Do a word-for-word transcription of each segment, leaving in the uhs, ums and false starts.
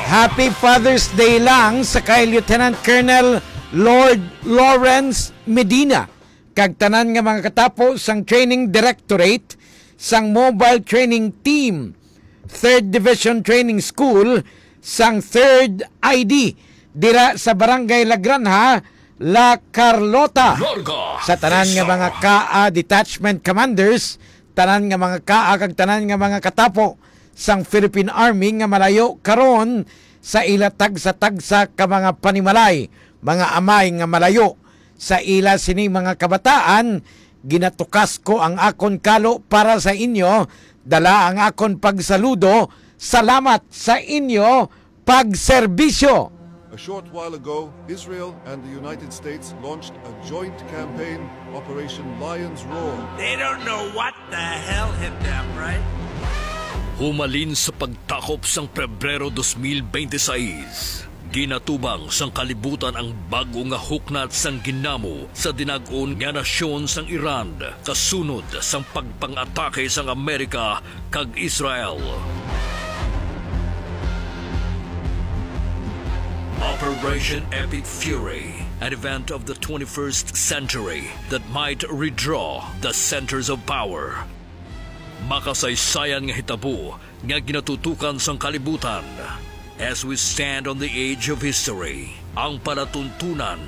Happy Father's Day lang sa kay Lieutenant Colonel Lord Lawrence Medina kag tanan nga mga katapo sang Training Directorate sang Mobile Training Team, Third Division Training School sang Third I D dira sa Barangay La Granja, La Carlota. Larga Sa tanan nga Vista. mga kaa detachment commanders, tanan nga mga kaa kag tanan nga mga katapo sang Philippine Army nga malayo karon sa ila tagsa-tagsa ka mga panimalay, mga amay nga malayo sa ila sini mga kabataan, ginatukas ko ang akon kalo para sa inyo, dala ang akon pagsaludo, salamat sa inyo pagserbisyo. A short while ago, Israel and the United States launched a joint campaign, Operation Lion's Roar. They don't know what the hell hit them, right? Humalin sa pagtakop sang Pebrero dos mil bente seis, ginatubang sang kalibutan ang bag-o nga huknat sang ginamo sa dinag-on nga nasyon sang Iran, kasunod sang pagpang-atake sang Amerika kag Israel. Operation Epic Fury, an event of the twenty-first century that might redraw the centers of power. Makasaysayan nga hitabo nga ginatutukan sang kalibutan. As we stand on the edge of history, ang palatuntunan,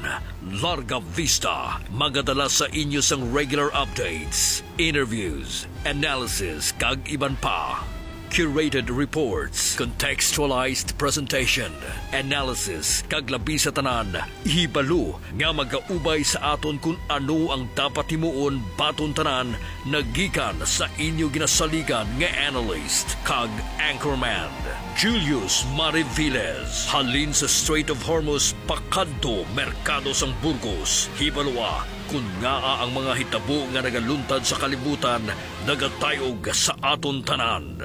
Larga Vista, magadala sa inyo sang regular updates, interviews, analysis, kag iban pa. Curated reports, contextualized presentation, analysis, kag labi sa tanan, hibalo nga magaubay sa aton kon ano ang dapat himuon baton tanan, nagikan sa inyo ginasaligan nga analyst kag anchorman, Julius Mariviles. Halin sa Strait of Hormuz pakadto Merkado sang Burgos, hibaloa kon ngaa ang mga hitabo nga nagaluntad sa kalibutan nagatayog sa aton tanan.